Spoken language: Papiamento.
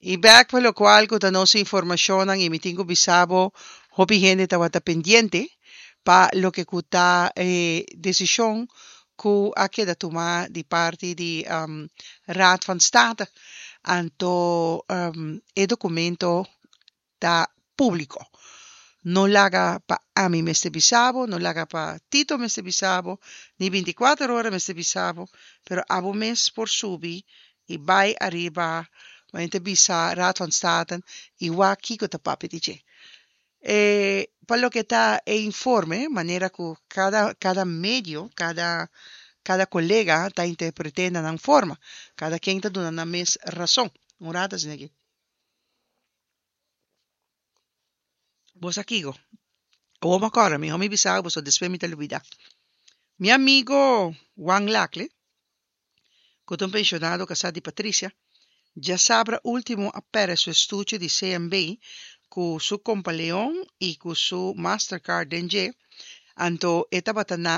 I bèk pa lokual ku ta nos informashonnan i mi tin ku bisa bo hopi hende tabata pendiente pa loke ku ta e desishon ku a keda tumá di parti di Raad van State. Anto e dokumento ta públiko. No laga pa ami mester bisa bo, no laga pa Tito mester bisa bo, ni 24 ora mester bisa bo, pero abo mes por subi i bai ariba manera ta bisa Raad van State i wak kiko ta papia di dje. E pa loke ta e informe, manera ku kada kada medio, kada kada kolega ta interpret'é na nan forma, kada ken ta duna nan mes rason. Un rato asina aki. Bo sa kiko? Awor mi a kòrda, mihó mi bisa bo pasobra despues mi ta lubidá. Mi amigo Juan Lacle, ku ta un penshonado kasá di Patricia, djasabra último a pèrdè su estuche di CMB ku su Kompaleon i ku su Mastercard den dje, anto e tabata na.